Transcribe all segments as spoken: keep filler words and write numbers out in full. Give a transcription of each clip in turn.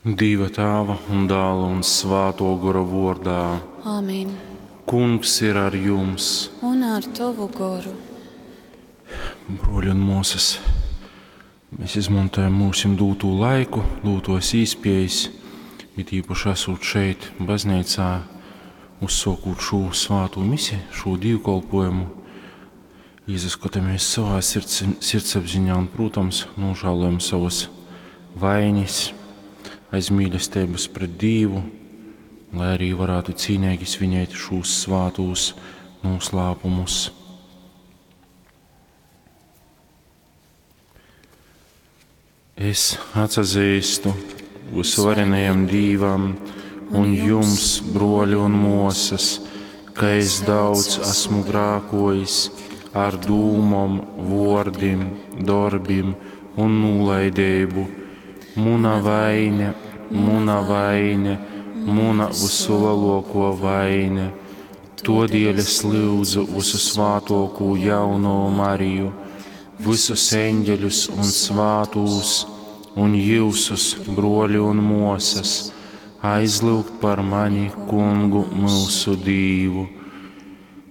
Dīva Tāva un Dāla un Svātō Gora vōrdā. Āmen. Kungs ir ar jums. Un ar tovu goru. Bruoļi un muosys, mēs izmontojam mūsim dūtū laiku, dūtos īspējas, it īpaši esot šeit, baznīcā, uzsokot šo svāto misi, šo dievkalpojumu, iesaskatāmies savā sirds, sirdsapziņā un, protams, nožēlojam savas vainas, aiz mīlestības pret Dievu, lai arī varētu cīnīgi svinēt šos svātos noslēpumus. Es atzīstu visvarenajam Dīvam un jums, broļi un muosas, ka es daudz esmu grākojis ar dūmom, vordim, darbim un nolaidību. Muna vaine, muna vaine, muna visulielāko vaine. Todēļ es lūdzu visu svātoko jauno Mariju, visus eņģeļus un svātūs, un jūsus, broļi un muosas, aizlūgt par mani, kungu mūsu Dīvu.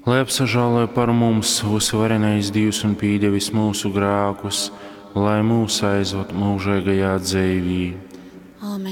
Lai apsažāloja par mums visvarenais Dievs un pīdevis mūsu grākus, lai mūs aizved mūžīgajā dzīvī. Āmen.